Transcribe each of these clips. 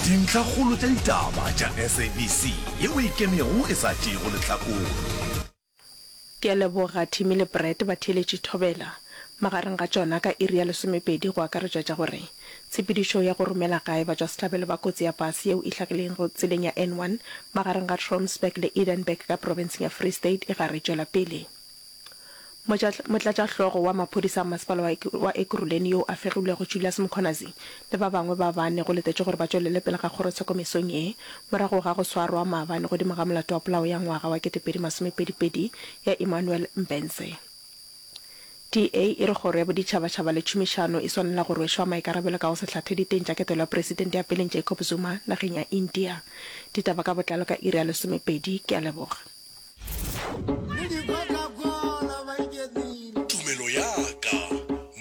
Dintlhakgolo tša ditaba tša SABC yeo e ikemego e sa tšeego lehlakore. Ke a leboga Timmy le Brad ba theeletše Thobela. Magareng ga tšona ka iri ya lesomepedi go akaretšwa tša gore tshepedišo ya go romela gae batšwasehlabelo ba kotsi ya pase yeo e hlagilego tseleng ya N1 magareng ga Trompsburg le Edenburg ka profenseng ya Free State e gare e tšwela pele. Motlatšahlogo wa maphodisa a masepala wa Ekurhuleni yo a fegilwego Julius Mkhwanazi le ba bangwe ba bane go letetšwe gore ba tšwelele pele ga kgorotsheko mesong ye morago ga go swarwa maabane godimo ga molato wa polao ya ngwaga wa 2022 ya Emmanuel Mbense. DA e re kgoro ya boditšhabatšhaba le tšhomišano e swanela go rwešwa maikarabelo ka go se hlathe diteng tša ketelo ya Presidente ya peleng Jacob Zuma nageng ya India. Ditaba ka botlalo ka iri ya lesomepedi. Ke a leboga. Tumelo ya ka.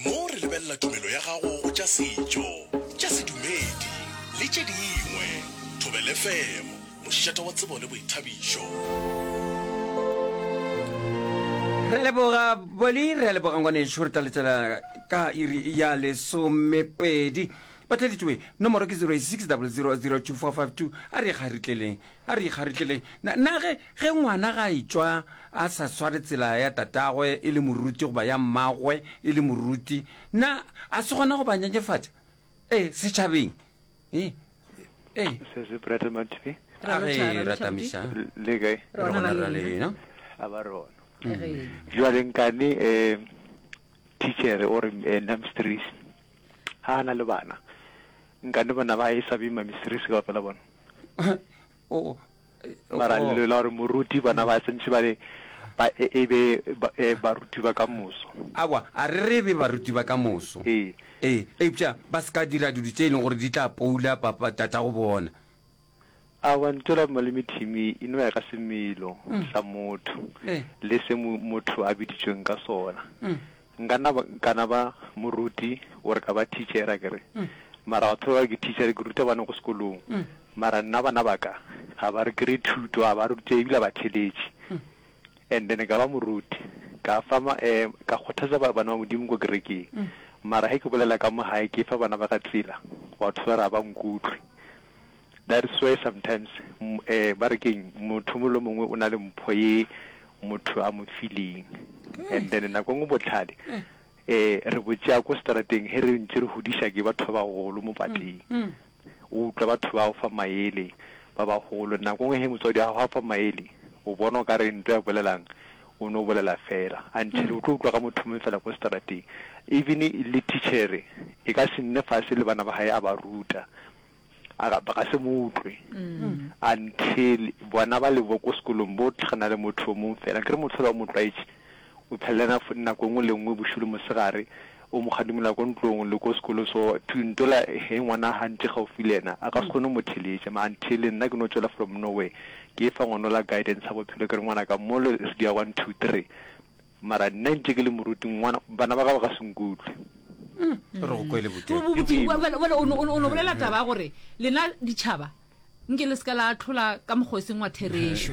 Mo re lebelela tumelo ya gago go tša setšo, tša sedumedi le tše dingwe. Thobela FM, mošate wa tsebo le boithabišo. Re a leboga Boli, re a leboga ngwanešu, re tla letela ka iri ya lesomepedi. Batheletšwe, nomoro ke 086 000 2452. A re ikgaritleleng. A re ikgaritleleng. Na, na ge, ge ngwana ga a etšwa a sa sware tsela ya tatagwe e le moruti goba ya mmagwe e le moruti, na a se gona go ba nyenyefatša? Ee, setšhabeng. Ee, ee. Se se Brother Mathibe. A ge ratamiša. Le kae? Re gona ra lena. A ba rona. Jwale nkane eh teacher o re eh, namstris ha ana le bana. Nkane bana ba e sa be mamistris ka pela bona. Mara lelo la gore moruti bana ba sentše ba le ba e, e be e, baruti ba ka moso. Aowa, a re re e be baruti ba ka moso. Ee. Ee, eupša ba se ka dira dilo tše e leng gore di tla poula papa, tatago bona. Aowa, ntho la malome Timmy e no ya ka semelo sa motho le se motho a biditšweng ka sona. Nka na ba, nka na ba moruti or ka ba teacher akere. Mara batho ba ba re ke teacher ke ruta bana ko sekolong. Mara nna bana ba ka ga ba re kry thuto, ga ba rutege ebile ga ba theletše. And then ka ba moruti, ka fa ma, eh, ka kgothatsa bana ba Modimo ko kerekeng. Mara ge ke bolela ka mo gae ke fa bana ba ka tsela, batho ba re ga ba nkutlwe. That is why sometimes eh, ba re keng motho mongwe le mongwe o na le mpho ye motho a mo fileng and then nako nngwe botlhale eh re bo tšea ko strateng he re ntse re hudiša ke batho ba bagolo mo pateng o utlwa batho ba go fa maele ba bagolo nako nngwe he motswadi wa gago a fa maele o bona o ka re nto ya bolelang o no bolela fela until o tlo utlwa ka motho mongwe fela ko strateng even le teacher e ka se nne fase le bana ba gae a ba ruta A ga, ba ka se mo utlwe until bona ba le bo ko sekolong bo tlhagana le motho o mongwe fela. Akere motho ola o mo tlwaetše, o phela le yena nako e nngwe le nngwe, bošego le mosegare, o mo kgadimola ko ntlong le ko sekolong. So ntola he ngwana ha ntše gaufi le yena, a ka se kgone go mo theletša. Mara until nna ke no tšwela from nowhere, ke fa ngwana ola guidance ya bophelo, ke re ngwanaka mole re dia one two three. Mara nna ntše ke le moruti, ngwana, bana ba ka ba ka se nkutlwe. Re go kwele bote. Bjale o no bolela taba ya gore lena ditšhaba nke le se ka la ahlola ka mokgwa o seng wa therešo.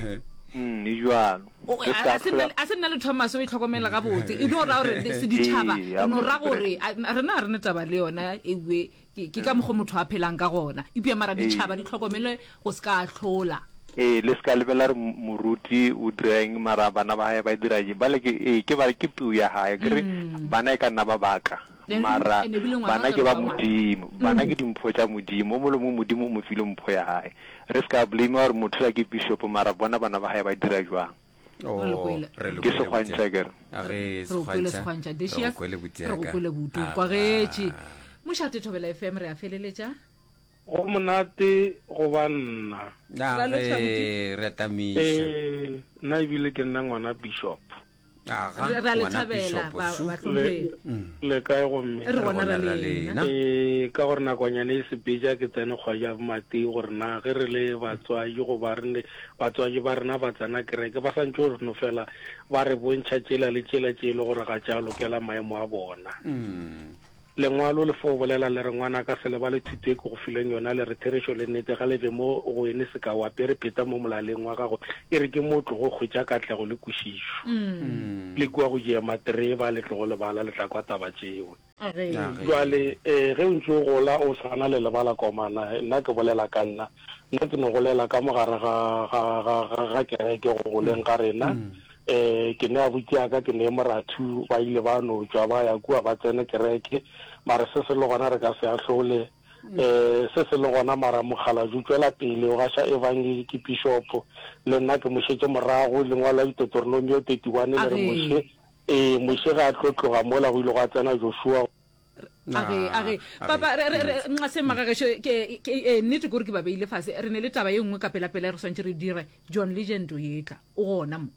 Mm, e bjalo. A se nna le Thomas o e hlokomela gabotse. E no ra gore se ditšhaba, re no ra gore rena ga re ne taba le yona ewe Ke ka mokgo motho a phelang ka gona. Eupša mara ditšhaba di hlokomele go se ka ahlola. Ee, le se ka lebela re moruti o dira eng mara bana ba hae ba dira eng. Bale ke, ee, ke ba, ke peu ya hae. Ke re bana e ka nna ba baka, mara bana ke ba Modimo. Bana ke dimpho tša Modimo. O mongwe le mongwe Modimo o mo file mpho ya hae. Re se ka blame gore motho ola ke bishop mara bona bana ba hae ba dira jwang. Oh, Re le kwele. re le Ke kwele segwantšha botia. ke re. A ge Re o kwele segwantšha. segwantšha Re Decius go kwele botia re go ka. kwele buti o Aga. kwagetše mošate Thobela FM re a feleletša Go monate go ba nna. A Ra lotšha ge buti. re atamiša. Ee, nna ebile ke nna ngwana bishop. Aga, Re a le ngwana thabela Bishop ba Su. Le, bahlomphegi. le kae gomme? Re Re gona gona ra ra lena. lena. Ee, ka gore nakonyana e sepetša ke tsene kgwadi ya bomatee gore na ge re le batswadi goba re ne batswadi ba rena ba tsena kereke ba santše go no fela ba re bontšha tšela le tšela tše e le gore ga tša lokela maemo a bona. Lengwalo le fo bolela le re, Ngwanaka, se lebale thuto e ke go fileng yona, le re, Therešo le nnete ga le be mo go ene seka o apere pheta mo molaleng wa gago, e re ke mo o tlogo hwetša katlego le kwešišo. Le kua go diema tereba, le tlogo lebala, le tla kwa taba tšeo. Bjale, ee, ge o ntše o gola o swana le lebalakomana, nna ke bolela ka nna, nna ke no golela ka mo gare ga, ga, ga, ga, ga kereke go goleng ga rena. Ee, ke ne abuti ya ka, ke ne morathu, ba ile ba no tšwa ba ya kua ba tsene kereke, mara se se le gona re ka se ahlole. Ee, se se le gona, mara mokgalabje o tšwela pele o gaša ebangedi, ke pišopo, le nna ke mo šetše morago, lengwalo la Deuteronomio 31 le re Moshe, Ee, Moshe ge a tlo tloga mola go ile gwa tsena Joshua. A ge, a ge. Papa, re, re, re, nxa magagešo, ke, ke, ee, nnete ke gore ke ba beile fase. Re ne le taba ye nngwe ka pelapela e re swantše re dire. John Legend o etla. O gona mo.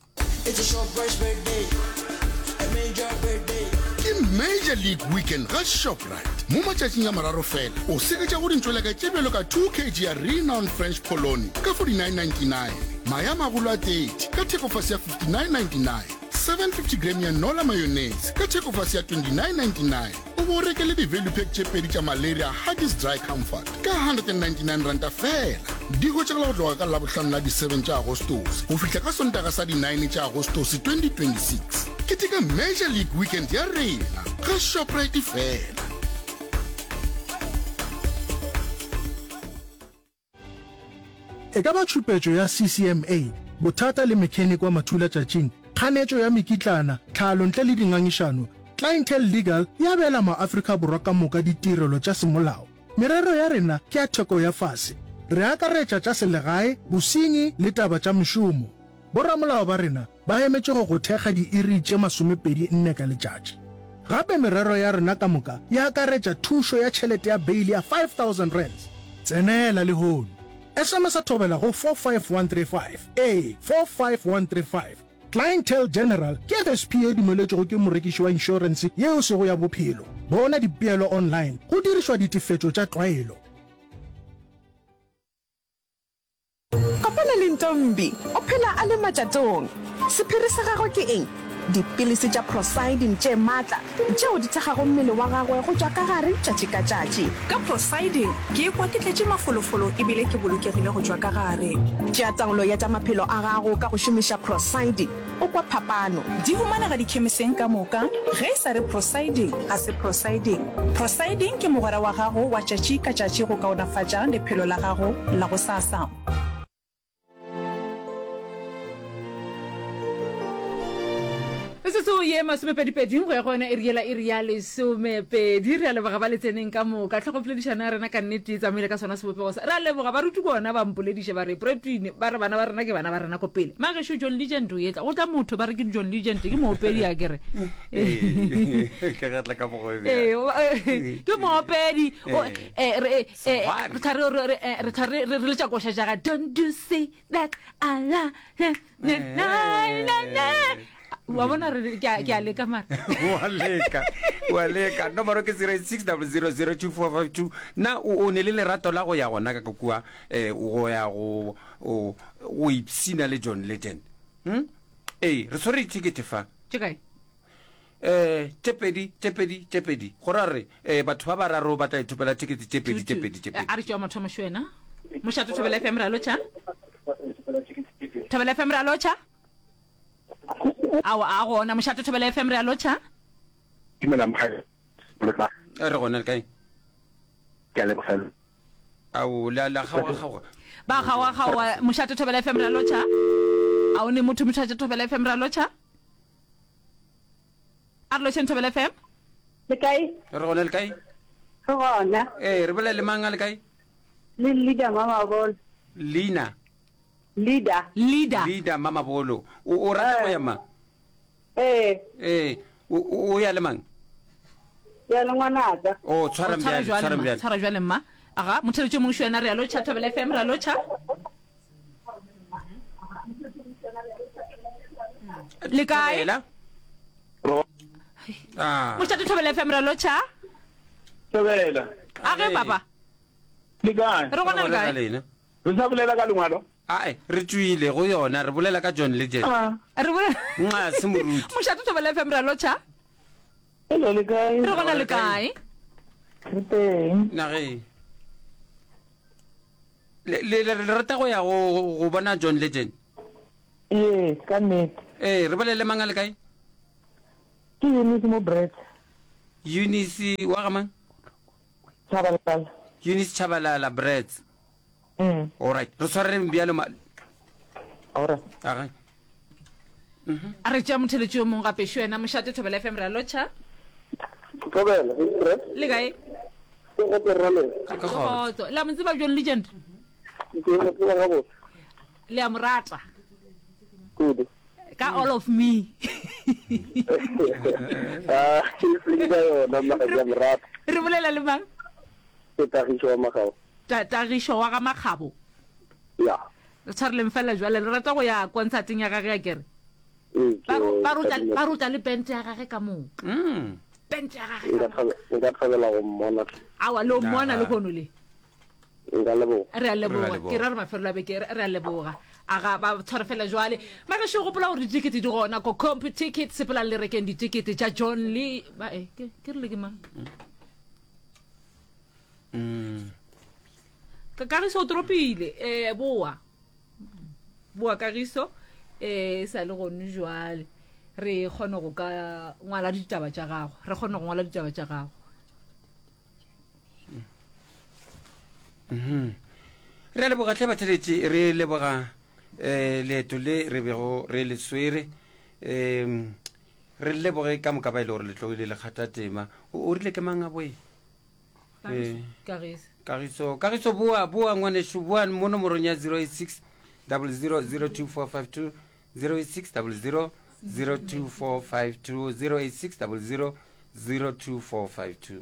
It's a Shoprite's birthday, a major birthday. Ke Major League Weekend ga Shoprite. Mo matšatšing a mararo fela, o seketša go dintšweleka tše bjalo ka 2 kg ya Renown French Polony ka 49.99, mae a magolo a 30 ka thekofase ya 59.99, 750 gram ya Nola mayonnaise ka thekofase ya 29.99 o bo o reke le di-value pack tše pedi tša Malaria Huggies Dry Comfort ka R199 feela. Di hwetšagala go tloga ka Labohlano la di-7 tša Agostose go fihla ka Sontaga sa di-9 tša Agostose 2026. Keteka Major League Weekend ya rena ga Shoprite feela. E ka ba tšhupetšo ya CCMA, bothata le mechanic wa mathulatšatšing, kganetšo ya mekitlana, tlhalo ntle le dingangišano, Clientele Legal e abela maAfrika Borwa ka moka ditirelo tša semolao. Merero ya rena ke ya theko ya fase. Re akaretša tša selegae, bosenyi le taba tša mešomo. Boramolao ba rena ba emetše go go thekga diiri tše 24 ka letšatši. Gape merero ya rena ka moka e akaretša thušo ya tšhelete ya beili ya R5000. Tsenela lehono! SMS-a Thobela go 45135. Ee, 45135. Clientele General ke FSP ye e dumeletšwego ke morekiši wa inšorense ye e sego ya bophelo. Bona dipeelo online go dirišwa ditefetšo tša tlwaelo. Kopana le Ntombi, o phela a le matšatong. Sephiri sa gagwe ke eng? Dipilisi tša Procyldin tše matla tšeo di thekgago mmele wa gagwe go tšwa ka gare tšatši ka tšatši. Ka Procyldin, ke ikwa ke tletše mafolofolo e bile ke bolokegile go tšwa ka gare. Tšea taolo ya tša maphelo a gago ka go šomiša Procyldin. O kwa phapano. Di humanega dikhemiseng ka moka. Ge e sa re Prosiding, ga se Prosiding. Prosiding ke mogwera wa gago wa tšatši ka tšatši go kaonafatša lephelo la gago la gosasa. Metsotso ye masomepedipedi go ya go yona iri yela iri ya lesomepedi. Re a leboga ba le tseneng ka moka. Tlhogopoledišano ya rena ka nnete e tsamaile ka sona sebopego sa. Re a leboga baruti ke ona ba mpolediša ba re Bretwin ba re bana ba rena ke bana ba rena ko pele. Magešo John Legend o etla. Go tla motho ba re ke John Legend ke moopedi a kere. Ke re tla ka mogo Ee, ke moopedi. Eh, re eh, re tla re re re tla re re letša koša ja ga don't you see that I love you na na na wa bona re ke a leka mara wa leka wa leka nomoro ke 0600024452 na o ne le lerato la go ya gona ka kua eh go ya go go ipsina le John Legend hm ee re tshwere ticket fa tše kae eh tše pedi tše pedi tše pedi go ra re eh batho ba bararo ba tla ithopela ticket tše pedi tše pedi tše pedi a re tšea motho mošo wena mošato thobela fm re a lotšha thobela fm re a lotšha Ao, a gona. Mošate Thobela FM, re a lotšha. Dumela mogae. Re gona le kae? Ke a leboga. Ao, la la kgaoga kgaoga. Ba kgaoga kgaoga. Mošate Thobela FM, re a lotšha. A o ne motho Mošate Thobela FM, re a lotšha. A re lotšheng Thobela FM. Le kae? Re gona le kae? Re gona. Ee, re bolela le mang a le kae? Le leader Mamabolo. Leina. Leader. Leader. Leader Mamabolo. O o rata go ya mang? Ee. Ee. O o ya le mang? Ya le ngwanaka. Oh, tshwara bjale, tshwara bjale. Tshwara bjale mma. Aga, motheletši o mongwe šo yena re a lotšha Thobela FM re a lotšha. Le kae? Thobela. Ah. Mošate Thobela FM re a lotšha. Thobela. Age papa. Le kae? Re gona le kae? Re sa bolela ka lengwalo? Ae, re tšwile go yona, re bolela ka John Legend. Ah. Re bolela. Nxa, se moruti. Mošate Thobela FM, re a lotšha. Hello, le kae? Re gona le kae? Re teng. Nageng. Le, le, le, le rata go ya go, go bona John Legend? Ee, ka nnete. Ee, re bolele mang a le kae? Ke Eunice mo Brits. Eunice wa ga mang? Chabalala. Eunice Chabalala Brets. Mm. All right. Re tshwareleng bjalo ma. All right. Aga. A re tšea motheletši yo mongwe gape šo yena mošate Thobela FM re a lotšha. Thobela, re. Le kae? Ke go rra le. Ke kgotso. Le a mo tseba John Legend? Ke mo tseba gabotse. Le a mo rata? Kudu. Ka all of me. Ah, ke ka yona mara ke a mo rata. Re bolela le mang? Ke Tagišo wa Makgabo. Ta Tagišo wa ga Makgabo. Ya. Re tshwareleng fela jwale le rata go ya konsateng ya gage akere? Ee, Ba ke ro- ba rotla thabile. ba rotla le pente ya gage ka moo. Pente ya gage Nka ka moo. thabela nka thabela go mmona. Awa le o mmona le kono le. Nka leboga. Re a leboga. Re a leboga. Ke ra re mafelelo a beke re a leboga. A ga ba tshware fela jwale. Magešo gopola gore ditikete di gona ko Computicket sepelang le rekeng ditikete tša John le ba eh ke ke rile ke mang? Mm. Kagiso o toropile eh boa. Boa Kagiso eh sa le gone jwale. Re kgone go ka ngwala ditaba tša gago. Re kgone go ngwala ditaba tša gago. Mhm. Re a leboga tlhe batheletši re leboga eh leeto le re bego re le swere um re leboge ka moka ba e le gore le tlogile le kgatha tema o rile ke mang a boe Kagiso. Eh. Kagiso. Kagiso, Kagiso boa, boa ngwanešu, boa mo nomorong ya 086 00 02452 086 00 02452 086 00 02452.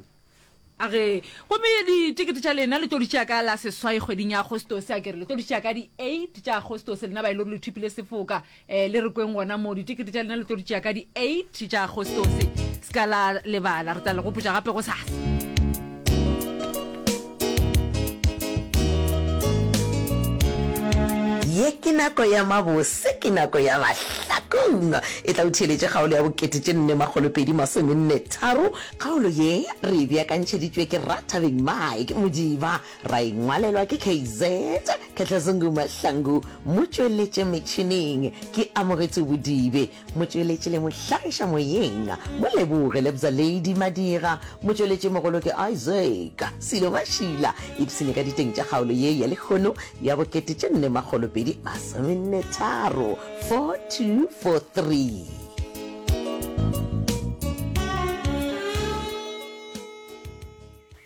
A re, Gomme ditekete tša lena le tlo di tšea ka la seswai kgweding ya Agostose, a ke re le tlo di tšea ka di eight tša Agostose, lena ba e le gore le thopile sefoka, um le re kweng gona moo, ditekete tša lena le tlo di tšea ka di eight tša Agostose, se ka la lebala, re tla le gopotša gape gosasa. Ye ke nako ya mabose, ke nako ya mahlakong. E tla o theeletše kgaolo ya bokete tše nne makgolo pedi masomenne tharo. Kgaolo ye re e beakantšheditšwe ke Rathabeng Mike Modiba, ra e ngwalelwa ke KZ Khehlazungu Mahlangu, motšweletše metšhineng ke Amogetswe Bodibe. Motšweletši le mohlagiša moyeng, Moleboge Lebza Lady Madira, motšweletši mogolo ke Isaac Silo Mašila. Ipshine ka diteng tša kgaolo ye ya lehono ya bokete tše nne makgolo pedi masomenne tharo, 4243.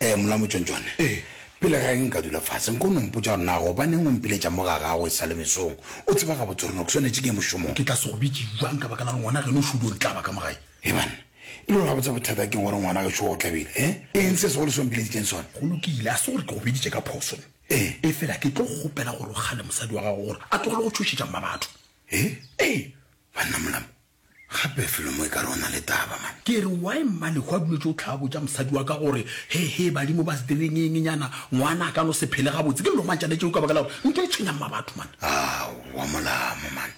Ee, Molamotswentšwane. Ee. Pele ga ge nka dula fase, nko no mpotša gore na gobaneng o mpiletša mo ga gago e sa le mesong? O tseba gabotse gore no ke swanetše ke ye mošomong. Ke tla se go bitše bjang ka baka la gore ngwana geno o šudu o ntlaba ka mo gae? Hei banna, e le gore gabotse bothata keng gore ngwana gešo o tlabile, he? Eng se segolo se o mpileditšeng sona? Go lokile, a se gore ke go biditše ka phoso. Ee. Efela ke tlo kgopela gore o kgale mosadi wa gago gore a tlogele go tšhošetša mmabatho. He? Ee. Banna Molamo, Gape felo mo e ka re o na le taba man. Ke re why Mmalehwa a duletše o tlha botša mosadi wa ka gore he he badimo ba se direng eng nyana ngwana a ka no se phele gabotse ke lomantšane tšeo ka baka la gore ntho e tshwenya mmabatho man. Aowa molamo man.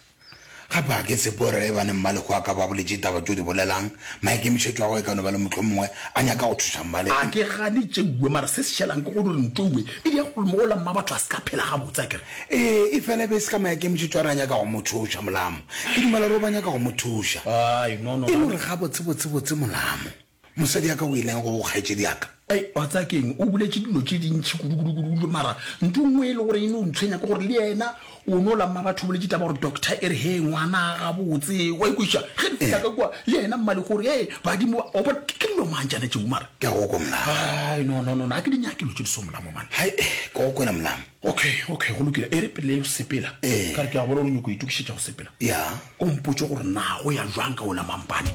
Gape ga ke tshepe gore ge bane Mmalehwa a ka ba boletše taba tšeo di bolelang maikemišetšo a gagwe e ka no ba le mohlomongwe a nyaka go thuša Mmalehwa. A ke gane tšeuwe mara se se šalang ke gore ntouwe e dia gore mola mmabatho a se ka phela gabotse akere. Ee, efela e be e se ka maikemišetšo a re a nyaka go mo thuša, Molamo. Ke dumela gore o ba nyaka go mo thuša. Ai, no, no. E le gore gabotsebotsebotse, Molamo, mosadi ya ka o ileng go kgaetšedi ya ka? Ai, wa tseba ke eng, o boletše dilo tše dintši kudu-kudu-kudu-kudu, mara ntho e nngwe e le gore e no ntshwenya ke gore le yena o no la mmabatho o boletše taba gore doctor e re, Hee, ngwana gabotse, wa ikwešiša? Ge re fihla ka kua, le yena Mmalego o re, Hee, badimo ba, wa bona, ke dilo mang tšana tšeo mara? Ke a go kwa, Molamo. Ai, no, no, no, no, ga ke di nyake dilo tše di so, Molamo, man. Hai, ke go kwele, Molamo. Okay, okay, go lokile. E re pele o sepela, Ee. ka re ke a bona gore o nyoko itokišetša go sepela. Ya. O mpotše gore na go ya jwang ka wola mampane.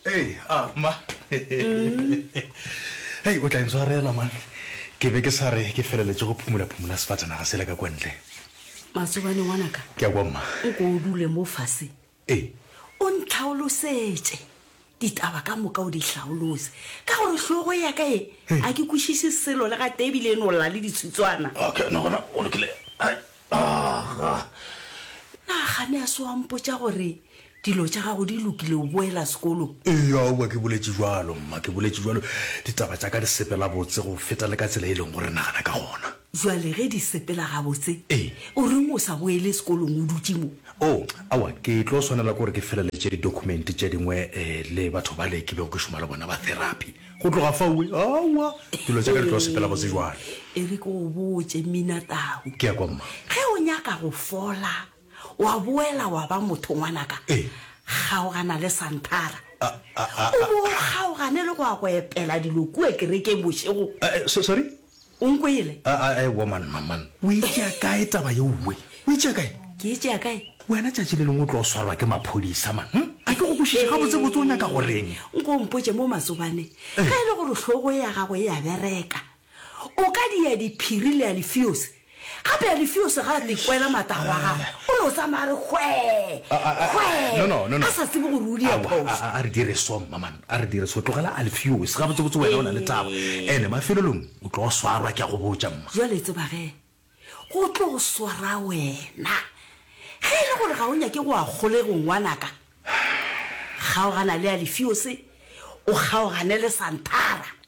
Ei, ah, mma. Hei, o tla intshwarela, man. Ke be ke sa re ke feleletše go phumula-phumula sefatanaga sela ka kwa ntle. Matsobane, ngwanaka. Ke a kwa, mma. Nko o dule mo fase. Ee. O ntlhaolosetše ditaba ka moka o di hlaolose, ka gore hlogo ya ka ye a ke kwešiše selo le gatee ebile e no lla le ditshitswana. Okay, no gona go lokile. Ai, aga. Na kgane a se wa mpotša gore dilo tša gago di lokile o boela sekolong? Ee, aowa ke boletše bjalo, mma, ke boletše bjalo. Ditaba tša ka di sepela botse go feta le ka tsela e leng gore nagana ka gona. Bjale ge di sepela gabotse, Ee. o reng o sa boele sekolong o dutše mo? Oh, aowa, ke tlo swanela ke gore ke feleletše di-document tše dingwe le batho bale ke bego ke šoma le bona ba therapy. Go tloga fao, aowa, dilo tša ka di tlo sepela botse bjale. E re ke go botše, Mina Tau. Ke a kwa, mma. Ge o nyaka go fola, wa boela wa ba motho, ngwanaka, kgaogana le Santhara. O bo o kgaogane le go ya go epela dilo kua kerekeng bošego. Sorry? O nkwele? Aowa man, man, man. O e tšea kae taba yeo we? O e tšea kae? Ke e tšea kae? Wena tšatši le lengwe o tlo swarwa ke maphodisa man. Hm? A ke go kwešiše gabotsebotse o nyaka go reng? Nko o mpotše mo Matsobane, ge e le gore hlogo ya gago e a bereka, o ka dia diphiri le Alfios? Gape Alfios ga a tekwela matagwa a gagwe, o no tsamaya a re hwee, hwee, a sa tsebe gore o dia phošo. A re dire so mma man, a re dire so. Tlogela Alfios, gabotsebotse wena o na le taba. Ene mafelelong o tlo swarwa, ke a go botša mma. Bjale tseba ge, go tlo swara wena. Ge e le gore ga o nyake go ya kgolegong ngwanaka, kgaogana le Alfios, o kgaogane le Santhara.